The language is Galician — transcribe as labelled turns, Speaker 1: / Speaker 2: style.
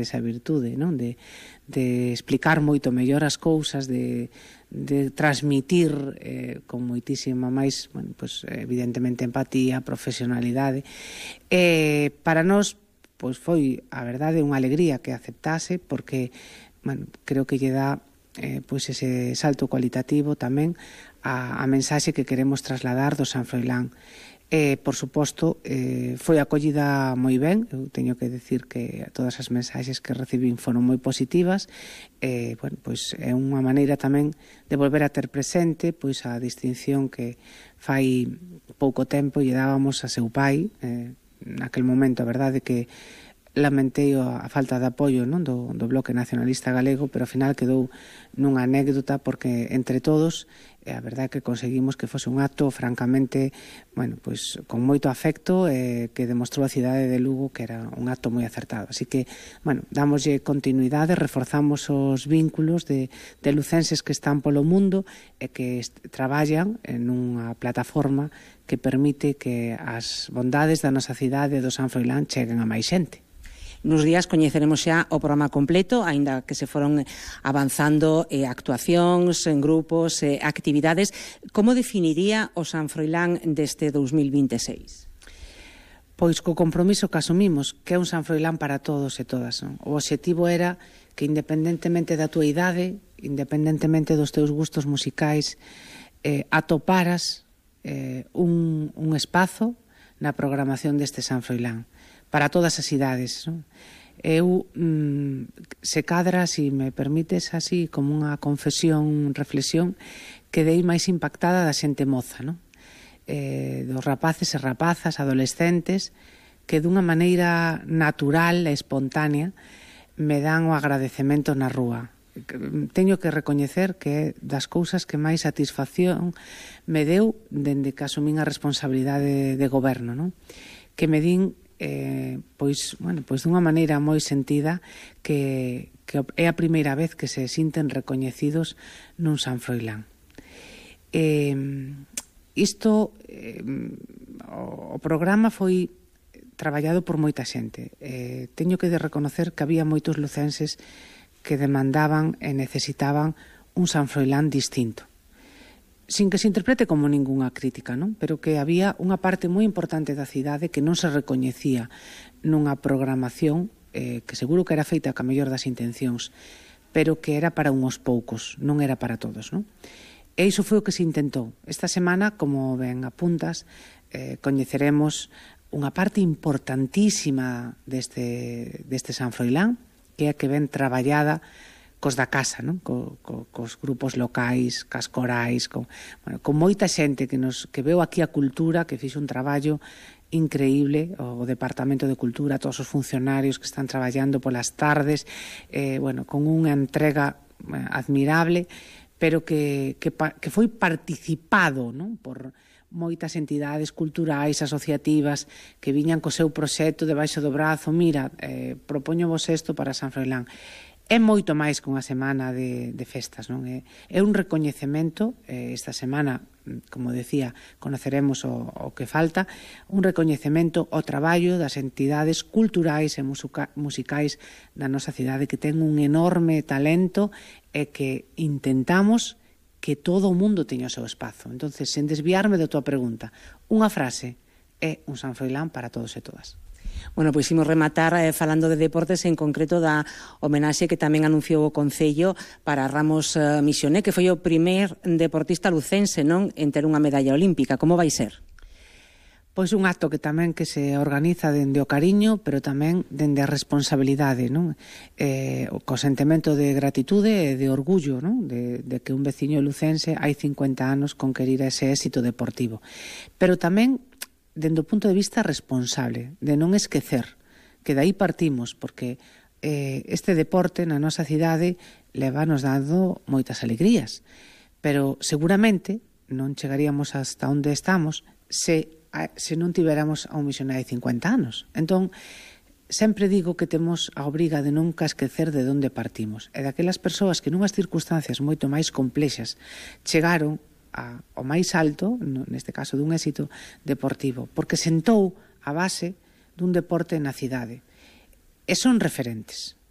Speaker 1: esa virtude, non? De explicar moito mellor as cousas, de transmitir con moitísima máis, bueno, pues, evidentemente empatía, profesionalidade. Para nós, pois foi, a verdade, unha alegría que aceptase, porque, bueno, creo que lle dá pois ese salto cualitativo tamén a mensaxe que queremos trasladar do San Froilán. Por suposto, foi acollida moi ben. Eu teño que decir que todas as mensaxes que recibín foron moi positivas. Bueno, pois é unha maneira tamén de volver a ter presente pois a distinción que fai pouco tempo lle dábamos a seu pai, naquel momento, a verdade que lamentei a falta de apoio, non, do Bloque Nacionalista Galego, pero ao final quedou nunha anécdota porque entre todos a verdade que conseguimos que fose un acto francamente, bueno, pois con moito afecto, que demostrou a cidade de Lugo que era un acto moi acertado. Así que, bueno, dámoslle continuidade, reforzamos os vínculos de lucenses que están polo mundo e que traballan en unha plataforma que permite que as bondades da nosa cidade do San Froilán cheguen a máis xente.
Speaker 2: Nos días coñeceremos xa o programa completo, aínda que se foron avanzando actuacións, en grupos, actividades. Como definiría o San Froilán deste 2026?
Speaker 1: Pois co compromiso que asumimos, que é un San Froilán para todos e todas, non? O obxectivo era que independentemente da túa idade, independentemente dos teus gustos musicais, atoparas un espazo na programación deste San Froilán para todas as idades, non? Eu, se cadra, se me permites así, como unha confesión, reflexión, quedei máis impactada da xente moza, non? Dos rapaces e rapazas, adolescentes, que dunha maneira natural e espontánea me dan o agradecemento na rúa. Teño que recoñecer que é das cousas que máis satisfacción me deu dende que asumín a responsabilidade de goberno, non? Que me din pois dunha maneira moi sentida que é a primeira vez que se sinten recoñecidos nun San Froilán. O programa foi traballado por moita xente. Teño que reconocer que había moitos lucenses que demandaban e necesitaban un San Froilán distinto, sin que se interprete como ningunha crítica, non? Pero que había unha parte moi importante da cidade que non se recoñecía nunha programación que seguro que era feita ca mellor das intencións, pero que era para unhos poucos, non era para todos, non? E iso foi o que se intentou. Esta semana, como ben apuntas, coñeceremos unha parte importantísima deste San Froilán, que é a que ven traballada cos da casa, non? Cos grupos locais, cas corais, con moita xente que veu aquí a cultura, que fixo un traballo increíble, o Departamento de Cultura, todos os funcionarios que están traballando polas tardes, con unha entrega admirable, pero que foi participado, non? Por moitas entidades culturais, asociativas, que viñan co seu proxecto debaixo do brazo. Mira, propóñovos isto para San Froilán. É moito máis que unha semana de festas, non? É un recoñecemento, esta semana, como decía, conoceremos o que falta, un recoñecemento ao traballo das entidades culturais e musicais da nosa cidade, que ten un enorme talento e que intentamos que todo o mundo teña o seu espazo. Entonces, sen desviarme da tua pregunta, unha frase é un San Froilán para todos e todas.
Speaker 2: Bueno, pois imos rematar falando de deportes, en concreto da homenaxe que tamén anunciou o Concello para Ramos Misioné, que foi o primer deportista lucense, non, en ter unha medalla olímpica. Como vai ser?
Speaker 1: Pois un acto que tamén que se organiza dende o cariño, pero tamén dende a responsabilidade, non? Co sentimento de gratitude e de orgullo, non? De que un veciño lucense hai 50 anos conquerira ese éxito deportivo. Pero tamén dende o punto de vista responsable, de non esquecer, que daí partimos, porque este deporte na nosa cidade levanos dando moitas alegrías, pero seguramente non chegaríamos hasta onde estamos se non tiveramos a un misionario de 50 anos. Entón, sempre digo que temos a obriga de nunca esquecer de onde partimos, e daquelas persoas que nunhas circunstancias moito máis complexas chegaron ao máis alto, neste caso dun éxito deportivo, porque sentou a base dun deporte na cidade. e son referentes.